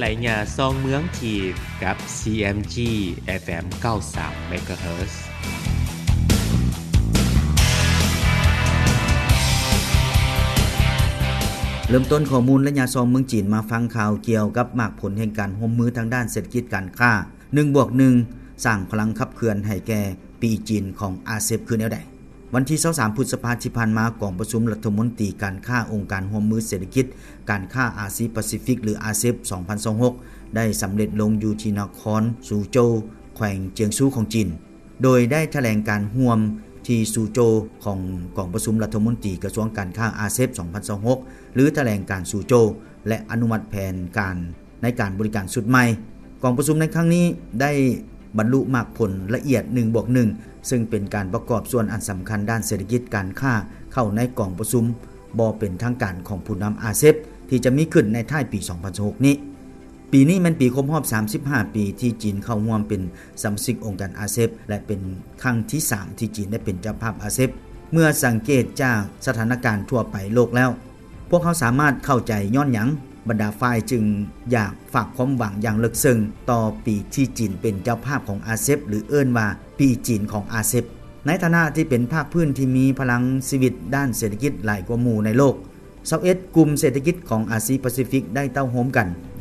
ໄລຍະຊອງເມືອງຈີນ ກັບ ຊີເອັມຈີ ເອັຟເອັມ ເກົ້າສິບສາມ ເມກາເຮີດ. ເລີ່ມຕົ້ນຂໍ້ມູນໄລຍະຊອງເມືອງຈີນ ມາຟັງຂ່າວກ່ຽວກັບໝາກຜົນແຫ່ງການຮ່ວມມືທາງດ້ານເສດຖະກິດການຄ້າ ໜຶ່ງບວກໜຶ່ງ ສ້າງພະລັງຂັບເຄື່ອນໃຫ້ແກ່ປີຈີນຂອງອາເຊັບຄືແນວໃດ? ວັນທີຊາວສາມ ພຶດສະພາທີ່ຜ່ານມາ, ກອງປະຊຸມລັດຖະມົນຕີການຄ້າອົງການຮ່ວມມືເສດຖະກິດການຄ້າອາຊີປາຊີຟິກ ຫຼື ອາເຊັບ ສອງພັນຊາວຫົກ ໄດ້ສຳເລັດລົງຢູ່ທີ່ນະຄອນຊູໂຈວ ແຂວງຈຽງຊູຂອງຈີນ, ໂດຍໄດ້ຖະແຫຼງການຮ່ວມທີ່ຊູໂຈວຂອງກອງປະຊຸມລັດຖະມົນຕີກະຊວງການຄ້າອາເຊັບ ສອງພັນຊາວຫົກ ຫຼື ຖະແຫຼງການຊູໂຈວ ແລະ ອະນຸມັດແຜນການ ໃນການບໍລິການຊຸດໃໝ່. ກອງປະຊຸມໃນຄັ້ງນີ້ໄດ້ບັນລຸໝາກຜົນລະອຽດ ໜຶ່ງບວກໜຶ່ງ ເຊິ່ງເປັນການປະກອບສ່ວນອັນສຳຄັນດ້ານເສດຖະກິດການຄ້າເຂົ້າໃນກອງປະຊຸມບໍ່ເປັນທາງການຂອງຜູ້ນຳອາເຊັບ ທີ່ຈະມີຂຶ້ນໃນທ້າຍປີສອງພັນຊາວຫົກນີ້. ປີນີ້ແມ່ນປີຄົບຮອບສາມສິບຫ້າປີທີ່ຈີນເຂົ້າຮ່ວມເປັນສະມາຊິກອົງການອາເຊັບ ແລະ ເປັນຄັ້ງທີສາມທີ່ຈີນໄດ້ເປັນເຈົ້າພາບອາເຊັບ. ເມື່ອສັງເກດຈາກສະຖານະການທົ່ວໄປໂລກແລ້ວ, ພວກເຮົາສາມາດເຂົ້າໃຈຍ້ອນຫຍັງບັນດາຝ່າຍຈຶ່ງຢາກຝາກຄວາມຫວັງຢ່າງເລິກເຊິ່ງຕໍ່ປີທີ່ຈີນເປັນເຈົ້າພາບຂອງອາເຊັບ ຫຼື ເອີ້ນວ່າປີຈີນຂອງອາເຊັບ. ໃນຖານະທີ່ເປັນພາກພື້ນທີ່ມີພະລັງຊີວິດດ້ານເສດຖະກິດຫຼາຍກວ່າໝູ່ໃນໂລກ, ຊາວເອັດກຸ່ມເສດຖະກິດຂອງອາຊີປາຊີຟິກໄດ້ເຕົ້າໂຮມກັນ ແລະ